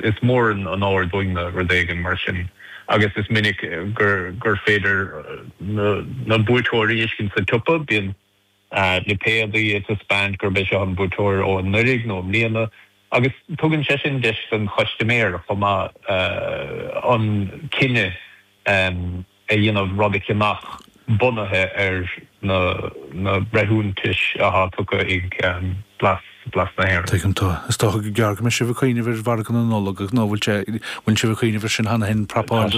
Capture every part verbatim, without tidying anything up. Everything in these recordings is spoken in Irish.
is mór an onóir dúinne rud éigin mar sin agus is minic gur gur féidir na, na buaiteoirí a fheiscint sa tsiopa bíonn uh, lipéadaí ag taispeáint gurb é seo an buaiteoir ó anuraidh nó i mbliana agus tugann sé sin deis don chustaiméir chomh maith uh, an cinneadh um, a dhéanamh rud a cheannach bunaithe ar na na breithiúnais atá tugtha ag um, Blas Blas na hÉireann. Tuigim tá is dócha go gearr go mbeidh sibh ag cuimhneamh ar mhargadh na Nollag ach ná bhfuil sé bhfuil sibh ag cuimhneamh ar sin cheana féin prapáil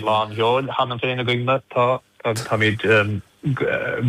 lán seoil cheana féin againne tá táimid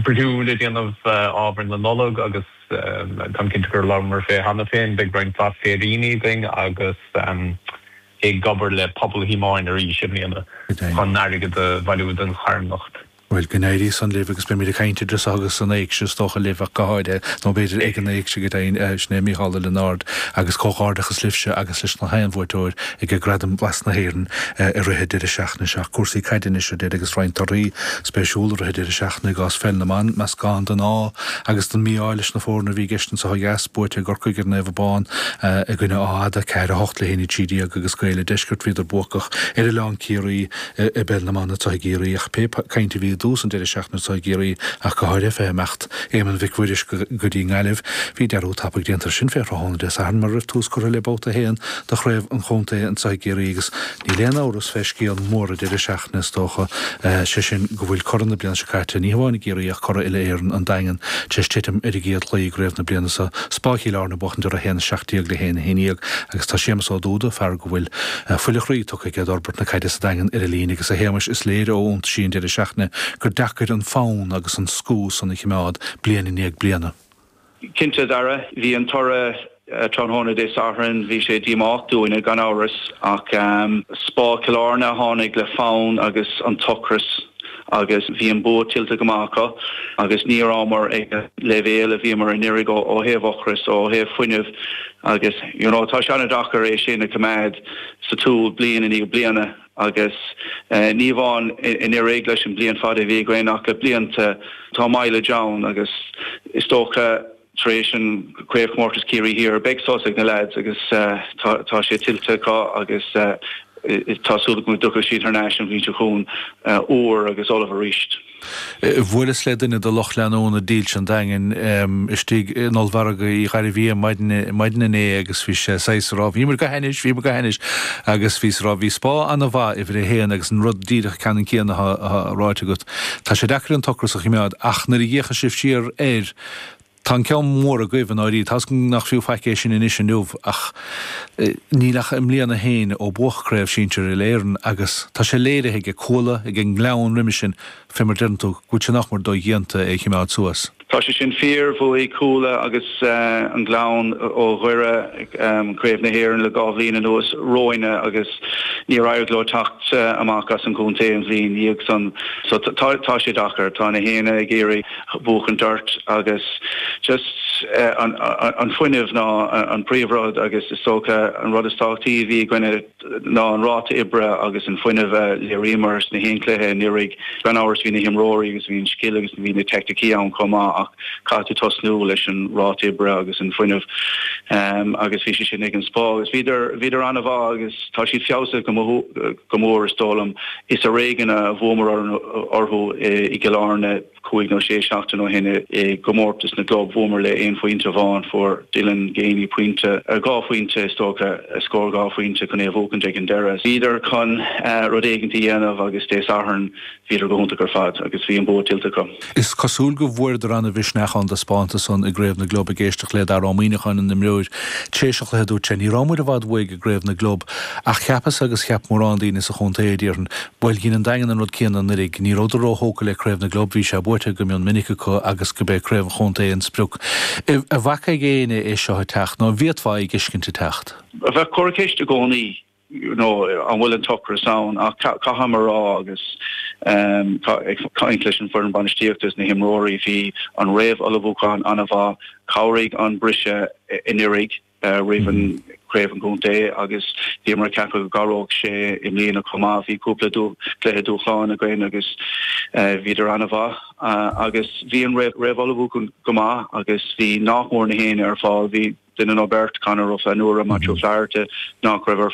brú le déanamh ábhar na Nollag agus tá cinnte gur labhramar fé cheana féin beidh roinnt féiríní againn agus ag obair le Pobal Thíomáin arís i mbliana chun airgead a bhailiú don charthanacht. Well go n-éirí san libh agus beimid ag caint idir agus an éigse is dócha libh ach go háirithe nó b'fhéidir ag an éigse go deimhin sin é Mícheál Ó Lionáird agus comhghairdeachas libhse agus leis na haon bhuaiteoir ag Gradaim Bhlas na hÉireann i rith deireadh seachtaine seo cúrsaí caide anois a agus roinnt torthaí spéisiúla i rith deireadh seachtaine i gcás pheil na mban meascán den ádh agus den mhí-ádh leis na foirne a bhí i gceist anseo dheas buaite ag Corcaigh ar Naomh Abán i gcoinne Áth Fhada ceathair a hocht le haon a trí déag agus Gaeil an Deiscirt bhíodar buacach ar Oileán Ciarraí i bpeil na mban anseo i gCiarraí ach pé caint a bhí dtús an deireadh seachtaine anseo i gCiarraí ach go háirithe fé imeacht Éamonn Mhic Mhuiris go dtí Gaillimh bhí dearúd tapaidh déanta sin fé thráthnóna Dé Sathairn mar raibh tús curtha le babhta a haon de chraobh an chontae anseo i gCiarraí agus níl aon amhras fé scéal mór an deireadh seachtaine is dócha sé sin go bhfuil curaidh na bliana seo caite ní hamháin i gCiarraí ach curaidh uile-Éireann an Daingean tar éis titim ar a gcéad chluiche i gcraobh na bliana seo Spá Chill Airne ag buachaint ar a haon seacht déag le haon haon déag agus tá Séamus Ó Dúda fear go bhfuil fuil a chroí tugtha aige d'fhorbairt na caide sa Daingean ar a líne agus a Shéamais is léir ó iontaisí an deireadh seachtaine gur deacair an fonn agus an scú san a choimeád bliain i ndiaidh bliana. Cinnte Dara bhí an toradh tráthnóna Dé Sathairn bhí sé díomách dúinne gan amhras ach um, Spá Chill Airne tháinig le fonn agus an t-ocras agus bhí an bua tuillte go maith acu agus ní rabhamar ag leibhéal a bhíomar anuraidh ó thaobh ocras ó thaobh fuinnimh agus you know, tá sé an-deacair é sin a choimeád sa tsiúl bliain i ndiaidh bliana agus uh, ní hamháin anuraidh leis an bliain fada bhí againn ach le blianta tá mileage ann agus is dócha tar éis an craobhchomórtas Ciarraí Thiar beidh sos ag na lads agus uh, tá sé tuillte acu agus uh, tá súil go dtiocfaidh siad thar n-ais an bhliain seo chugainn uh, úr agus ullamh arís. Bhuaileas le duine de lucht leanúna dílse an Daingin istigh in ollmhargadh Uí Ghairbhí maidin inné agus bhí sé saghas ag rá bhíomar go hainnis bhíomar go hainnis agus bhí rá bhí Spá an-mhaith uimhir a haon agus an rud díreach ceannann céanna ráite agat. Tá sé deacair an t-ocras a choimeád ach nuair a d'fhéachas sibh siar air Tá an ceann mór agaibh an áirí Tá nach fiú faic é sin anois inniu ach níl ach i mbliana féin ó buadh craobh sinsir uile-Éireann agus tá sé léirithe ag Cuala ag an nGleann roimhe sin fé mar deireann tú go bhfuil sé nach mór dodhéanta é choimeád suas. Tá sé sin fíor bhuaigh Cuala agus uh, an Gleann ó Dhoire um, craobh na hÉireann le dhá bhliain anuas romhainne agus níor éirigh leo teacht uh, amach as an gcontae an bhliain dhiaidh san so tá tá sé deacair tá na héine ag iarraidh buachan ort agus just uh, an, an, an fuinneamh ná an príomhrud agus is dócha an rud is tábhachtaí bhí againne ná an ráta oibre agus an fuinneamh léiríomar sna haon chluiche anuraidh gan amhras bhí na himreoirí agus bhí an scil agus bhí na teicnící ann chomh maith ach caithfidh tú tosnú leis an ráta oibre agus an fuinneamh um, agus bhí sé sin ag an Spá agus bhíodar bhíodar an-mhaith agus tá siad feabhsaithe go mór is dóigh liom is ar éigean a bhuamar orthu i gCill Airne cúig nó sé seachtain ó shin i gcomórtas na gclub bhuamar le aon phointe amháin fuair Dylan Geaney pointe dhá phointe is dócha scór dhá phointe chun é a bhuachan ag an deireadh. Bhíodar chun uh, rud éigin a dhéanamh agus Dé Sathairn bhíodar go hiontach ar fad agus bhí an bua tuillte acu. Is cosúil go bhfuaireadar an-mhisneach ón dtaispeántas san i gcraobh na gclub ag éisteacht le Dara Ó Muimhneacháin an imreoir tar éis an chluiche dúirt sé ní rabhamar i bhfad uaidh i gcraobh na gclub ach cheapas agus cheap mórán daoine sa chontae déarfainn Bhuel dhein an Daingean an rud céanna anuraidh ní rabhadar róthógtha le craobh na gclub bhí sé buaite go mion minic acu agus go bé craobh an chontae an sprioc. An bhfaca éinne é seo ag teacht nó bhféadfá é a fheiscint ag teacht. Bheadh corrcheist i gcónaí you know, an bhfuil an t-ocras ann ach caithfidh mé a rá agus um, caint leis an foireann bainistíochta is na himreoirí bhí an réamhullmhúchán an-mhaith chabhraigh an briseadh anuraidh uh, roimh an mm. craobh an chontae agus bhíomar ag ceapadh go gcabhródh sé i mbliana chomh maith bhí cúpla cluiche dúshláin againn agus uh, bhíodar an-mhaith uh, agus bhí an réamhullmhúchán go maith agus bhí nach mór na héine ar fáil bhí duine nó beirt Conor Ó Flannúra Matthew Flaherty nach raibh ar